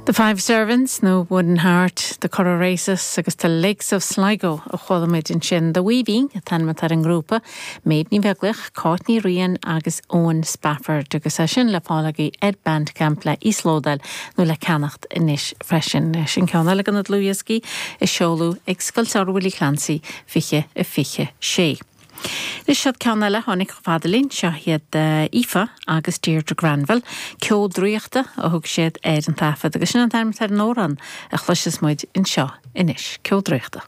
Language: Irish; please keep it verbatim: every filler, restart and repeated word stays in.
The Five Servants nó Wooden Heart, The Curragh Races agus The Lakes of Sligo a chuala muid ansin The Weaving an t-ainm atá ar an ngrúpa, Méabh Ní Bheaglaoich, Cáit Ní Riain agus Owen Spafford agus é sin le fáil agaibh ar Bandcamp le íoslódáil nó le ceannacht anois freisin sin ceann eile de na dlúthdhioscaí a seoladh ag Scoil Samhraidh Willie Clancy fiche a fiche sé. Is siad ceann eile tháinig fada linn seo iad Aoife agus Deirdre Granville, ceol draíochta a thug siad ar an taifead agus sin an t-ainm ar an amhrán a chloisfidh muid anseo anois ceol draíochta.